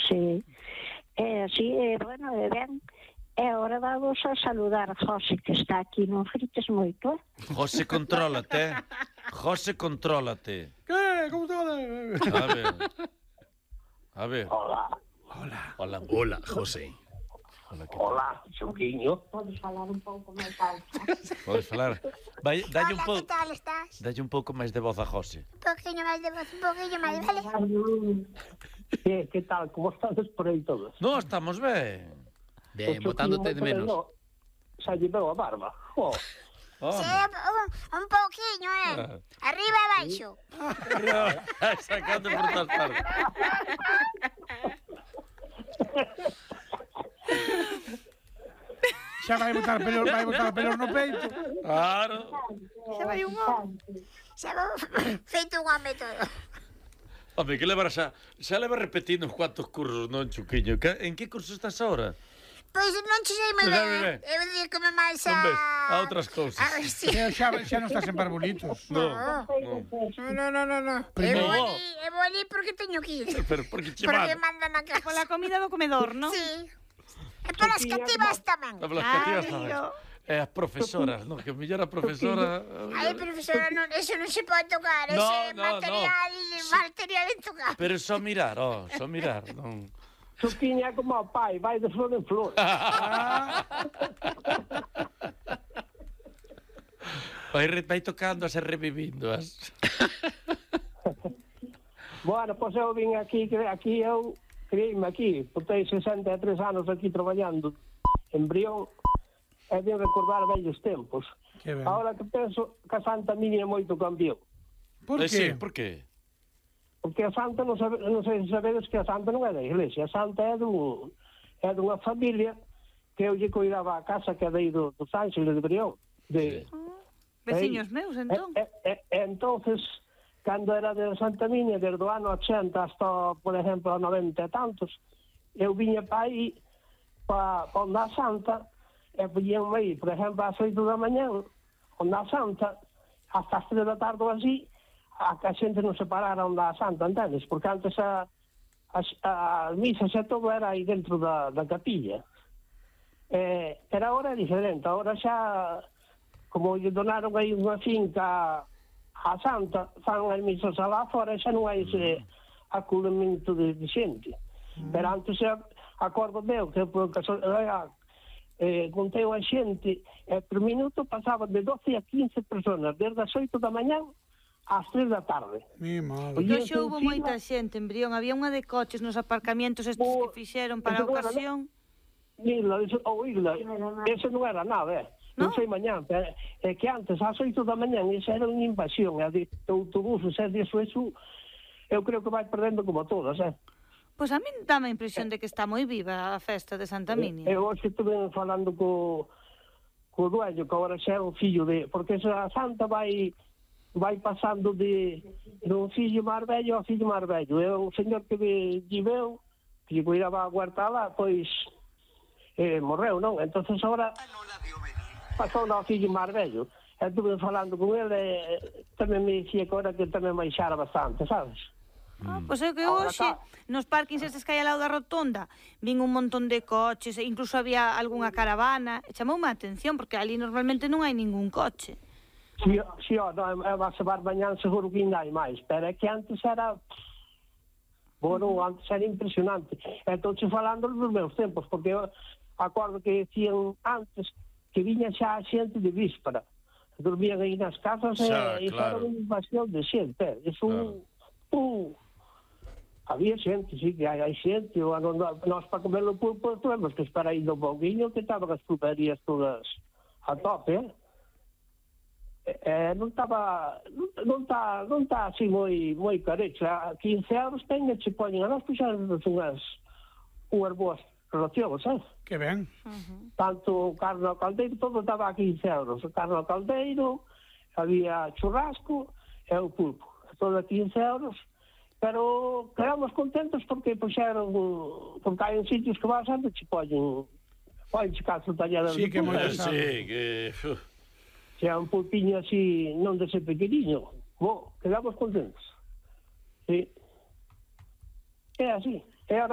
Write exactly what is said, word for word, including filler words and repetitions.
Sí. É así, é, bueno, é ben. É hora vamos a saludar a José, que está aquí, non frites moito, eh? José, contrólate, eh? José, contrólate. Que? Como todo? A ver. A ver. Hola. Hola. Hola. Hola, José. Hola, que tal? Hola, Xuquiño. Podes falar un pouco máis alto. Podes falar. Vai, dalle un Hola, pouco. que tal estás? Dalle un pouco máis de voz a José. Un poquinho máis de voz, un poquinho máis, vale? Que, que tal? Como estades por aí todos? No, estamos ben. Ben, botándote de menos. Xa lle veo a barba. Oh. Oh. Sí, un, un poquinho, eh? Arriba e baixo. Sacando por todas partes. Xa vai botar pelos, vai botar pelos no peito. Claro. Xa vai un home. Xa vou feito un home todo. Home, que leva xa, xa leva repetindo uns cuantos cursos, non, Chuquiño? Que, en que curso estás ahora? Pois non che sei moi Non sabe ben. ben. Eu dedico-me máis a... Non ves? A outras cousas. A ver, sí. Xa, xa, xa non estás en barbolitos. No, No, no. no, no, no, no. Eu Primeiro. vou ali, eu vou ali porque teño que ir. Pero porque che Porque van. mandan a casa. Pola comida do comedor, non? Sí. E polas cativas tamén. Hablas cativas Ai, tamén. oh. E as profesoras, non? Que mellor a profesora... Ai, profesora, non, eso non se pode tocar. No, Eso é no, material, no. material en tocar. Pero só mirar, oh, só mirar, non... Xuquiño é como o pai, vai de flor en flor. Vai, re- vai tocando e revivindo as... Bueno, pois eu vim aquí, que aquí eu criei-me aquí, botei sesenta e tres anos aquí traballando en Brión, e vim recordar vellos tempos. Que ben. Ahora que penso que a Santa Miña moito cambiou. Por Eh, sí, que? por que? Porque a Santa, non, sabe, non sei se sabedes que a Santa non é da iglesia. A Santa é, dun, é dunha familia que eu lle cuidaba a casa que é dei do, dos Ángeles de Brión. De, Veciños meus, entón. E, e, e, entonces, cando era de Santa Miña, desde o ano ochenta hasta, por exemplo, a noventa e tantos, eu viña pa aí, pa, pa onde a Santa, e podíanme ir, por exemplo, ás oito da mañan, onde a Santa, hasta as tres da tarde ou así, a que a xente non se parara onde a Santa, entendes? Porque antes a, a, a misas e todo era aí dentro da, da capilla. Eh, pero agora é diferente, agora xa, como lle donaron aí unha finca a Santa, fan as misas alá fora e xa non hai ese aculamento de, de xente. Pero antes, xa, acordo meu, que por casualidade, eh, contei a xente, e por minuto pasaba de doce a quince personas, desde as oito da mañan ás tres da tarde. Mi madre. Oye, Hoxe houve moita xente en Brión. Había unha de coches nos aparcamientos estes O- que fixeron para a eso non era ocasión. Isla, eso, ou Isla, eso non era nada, eh. Non No? sei mañán, pero é que antes, ás oito da mañan, esa era unha invasión, é de autobuses, é de eso, eso, eu creo que vai perdendo como todas, eh. Pois a min dá a impresión de que está moi viva a festa de Santa Minia. Eu hoxe estuve falando co, co dueño, que agora xa é o fillo de... Porque esa Santa vai vai pasando de do fillo máis vello ao fillo máis vello. É o señor que lle veu, que lle cuidaba a huerta lá, pois eh, morreu, non? Entonces agora pasou ao fillo máis vello. E estuve falando con ele, e tamén me dicía que agora que tamén baixara bastante, sabes? Ah, pois é que Ahora hoxe, tá. nos parkings estes que hai ao lado da rotonda, vin un montón de coches, e incluso había algunha caravana, e chamoume a atención, porque ali normalmente non hai ningún coche. Si, si, ó, no, é a semar mañán seguro que ainda hai máis, pero é que antes era... Bueno, antes era impresionante. Estou falando dos meus tempos, porque eu acordo que decían antes que viña xa a xente de víspera. Dormían aí nas casas Xa, e, e claro. era unha invasión de xente. É un... Claro. un había xente, sí, que hai, hai xente. O, ano, nós para comer o pulpo tuvemos que esperar aí do pouquinho que estaban as pulperías todas a tope, eh? Eh, non estaba non está non está así moi moi carecha. quince euros ten e che poñen a nós puxaron unhas unhas boas relacións, eh? Que ben. Uh-huh. Tanto carne ao caldeiro, todo estaba a quince euros. O carne ao caldeiro, había churrasco e o pulpo, todo a quince euros. Pero quedamos contentos porque puxeron, porque hai en sitios que vas antes che poñen poñen che caso tallada Sí, de que pulpo. moi Eh, sí, que... uf. Se é un pulpiño así, non de ser pequeniño, bo, quedamos contentos. Sí. É así. É ahora